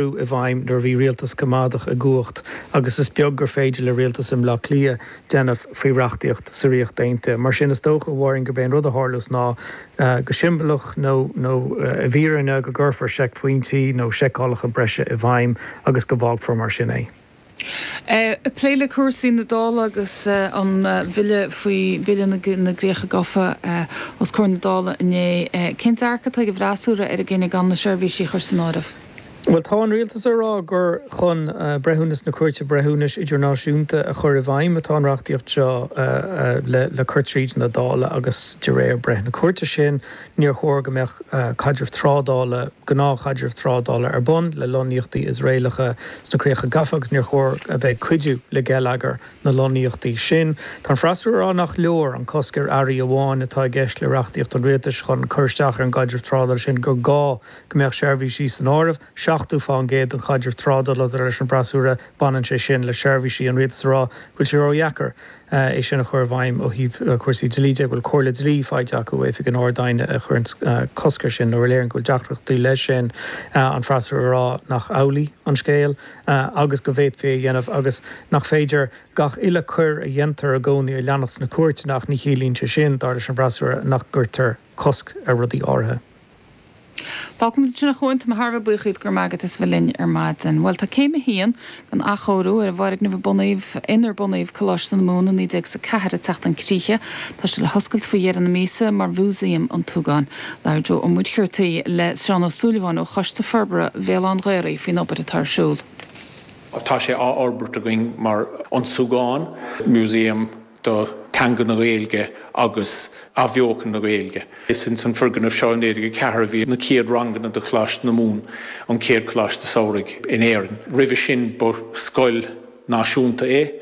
I bhfeidhm nuair a bhí rialtas coimeádach i gcumhacht agus is beag gur féidir le rialtas i mBleá Cliath déanamh faoi reachtaíocht sa Ríocht Aontaithe. Mar sin, is dócha, a Mháirín, gurb é an rud a tharlós ná, go siombalach nó nó i bhfírinne, go gcuirfear seicphointí nó seiceálacha breise i bhfeidhm agus go bhfágfar mar sin é. Ag plé le cúrsaí na Dála agus an bhille faoi Bhille na gCríocha Gafa os comhair na Dála inné, cén dearcadh atá ag an bhfreasúra ar an gcinneadh gan na seirbhísí a chur san áireamh? Bhuel, tá an rialtas ag rá gur chun breithiúnas na Cúirte Breithiúnais Idirnáisiúnta a chur i bhfeidhm atá an reachtaíocht seo le cur tríd na Dála agus de réir breith na cúirte sin, níor chóir go mbeadh caidreamh trádála, gnáthchaidreamh trádála ar bun le lonnaíochtaí Iosraelacha sna Críocha Gafa agus níor chóir a bheith ag cuidiú le geilleagar na lonnaíochtaí sin. Tá an freasúra ag rá nach leor an cosc ar earraí amháin atá i gceist le reachtaíocht an rialtais chun cur isteach ar an gcaidreamh trádála sin, gur gá go mbeadh seirbhísí san áireamh. 70% den chaidreamh trádála, dar leis an bhfreasúra, baineann sé sin le seirbhísí. An rialtas ag rá go bhfuil sé ródheacair é sin a chur i bhfeidhm ó thaobh cúrsaí dlí de, go bhfuil comhairle dlí faighte acu ó Oifig an Ard-Aighne a chuireann cosc air sin nó a léiríonn go bhfuil deacrachtaí leis sin. An freasúra ag rá nach amhlaidh an scéal agus go bhféadfaí é a dhéanamh agus nach féidir gach uile coir a dhéantar i gcónaí a leanacht sna cúirteanna ach ní chiallaíonn sé sin, dar leis an bhfreasúra, nach gcuirtear cosc ar rudaí áirithe. Fágfaimid ansin a Chuain, tá mé thar a bheith buíoch díot, go raibh maith agat as a bheith linn ar maidin. Bhuel, tá céim a haon den athchóiriú ar an bhfoirgneamh a bunaíodh, inar bunaíodh Coláiste na Mumhan i 1904 ag teacht chun críche. Tá sé le hoscailt faoi dheireadh na míosa mar Mhúsaem an tSúgáin. Labhair Joe Ó Muircheartaigh le Seán Ó Súilleabháin ó Choiste Forbartha Bhéal Átha an Ghaorthaidh faoin obair atá ar siúl. Tá sé á fhorbairt againn mar An Súgán, Museum do theanga na Gaeilge agus athbheochan na Gaeilge. Is ins an foirgneamh seo i 1904 a bhí na chéad ranganna do Choláiste na Mumhan, an chéad choláiste samhraidh in Éirinn. Roimhe sin ba scoil náisiúnta é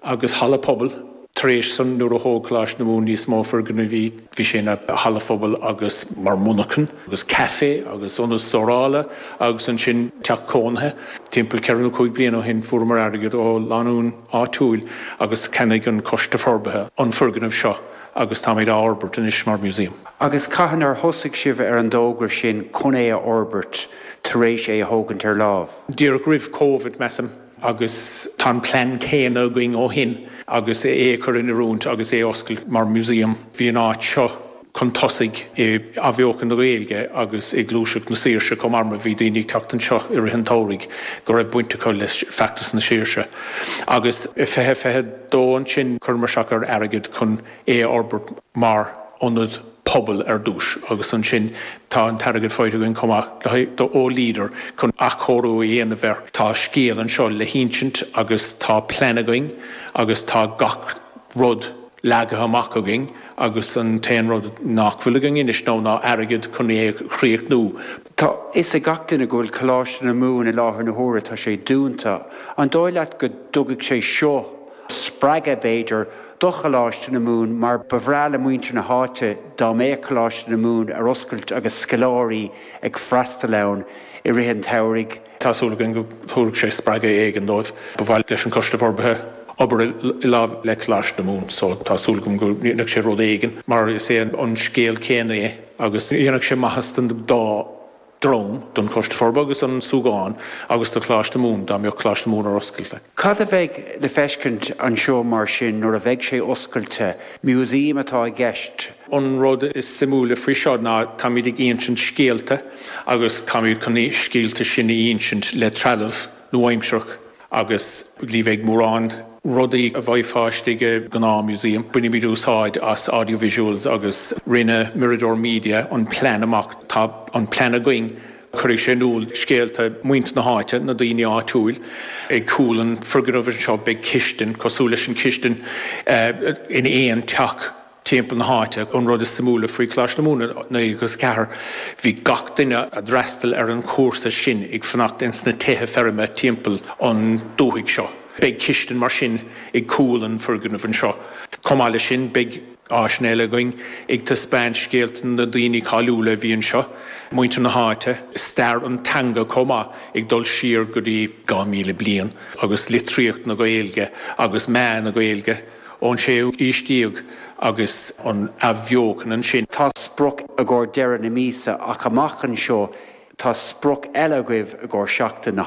agus halla pobail. Tar éis san nuair a thóg Coláiste na Mumhan níos mó foirgnimh bhí sé ina halla phobail agus mar mhonarchan agus caife agus ionad stórála agus ansin teach cónaithe. Timpeall ceithre nó cúig bliana ó shin fuaireamar airgead ó lánúin áitiúil agus cheannaigh an Coiste Forbartha an foirgneamh seo agus táimid á fhorbairt anois mar museum. Agus cathain ar thosaigh sibh ar an dtogra sin chun é a fhorbairt tar éis é a thógaint ar láimh? Díreach roimh Covid, measaim, agus tá an plean céanna againn ó shin agus é a chur in oiriúint agus é a oscailt mar museum. Bhí an áit seo chun tosaigh i athbheochan na Gaeilge agus i gluaiseacht na saoirse chomh maith mar bhí daoine ag teacht anseo i rith an tsamhraidh go raibh baint acu le feachtas na saoirse. Agus i 2022 ansin chuireamar isteach ar airgead chun é a fhorbairt mar ionad pobail ar dtús agus ansin tá an t-airgead faighte againn chomh maith le ó Leader chun athchóiriú a dhéanamh air. Tá scéal anseo le hinsint agus tá plean againn agus tá gach rud leagtha amach againn agus an t-aon rud nach bhfuil againn anois ná ná airgead chun é a chríochnú. Tá fhios ag gach duine go bhfuil Coláiste na Mumhan i láthair na huaire, tá sé dúnta. An dóigh leat go dtugfaidh sé seo spreagadh, b'fhéidir, do Choláiste na Mumhan mar ba bhreá le muintir na háite dá mbeadh Coláiste na Mumhan ar oscailt agus scoláirí ag freastal ann i rith an tsamhraidh? Tá súil againn go dtabharfaidh sé spreagadh éigin dóibh. Ba mhaith leis an Choiste Forbartha obair i lámh le Coláiste na Mumhan so tá súil agam go ndéanfaidh sé rud éigin mar is é an scéal céanna é agus dhéanfadh sé maitheas don dá dhream, don Choiste Forbartha agus an Súgán agus do Choláiste na Mumhan dá mbeadh Coláiste na Mumhan ar oscailt. Cad a bheidh le feiscint anseo mar sin nuair a bheidh sé oscailte? Museum atá i gceist? An rud is suimiúla faoi seo ná táimid ag insint scéalta agus táimid chun na scéalta sin a insint le trealamh nua-aimsearach agus ní bheidh mórán rudaí a bhfaighfeá istigh i ngnáth museum. Bainfimid úsáid as audio visuals agus rinne Mirador Media an plean amach. Tá an plean againn. Cuirfidh sé in iúl scéalta muintir na háite, na daoine áitiúil. Ag cúl an foirgnimh anseo beidh cistin, cosúil leis an chistin in aon teach timpeall na háite. An rud is suimiúla faoi Choláiste na Mumhan i 1904, bhí gach duine a d'fhreastail ar an chúrsa sin ag fanacht ins na tithe feirme timpeall an dúthaigh seo. Beidh cistin mar sin ag cúl an foirgnimh anseo. Chomh maith leis sin beidh áiseanna eile againn ag taispeáint scéalta na daoine cáiliúla a bhí anseo, muintir na háite, stair an teanga chomh maith, ag dul siar go dtí 2,000 bliain, agus litríocht na Gaeilge agus meath na Gaeilge. ón séú aois déag agus an athbheochan ansin. Tá sprioc i gcomhair deireadh na míosa ach amach anseo. Tá sprioc eile agaibh i gcomhair Seachtain na.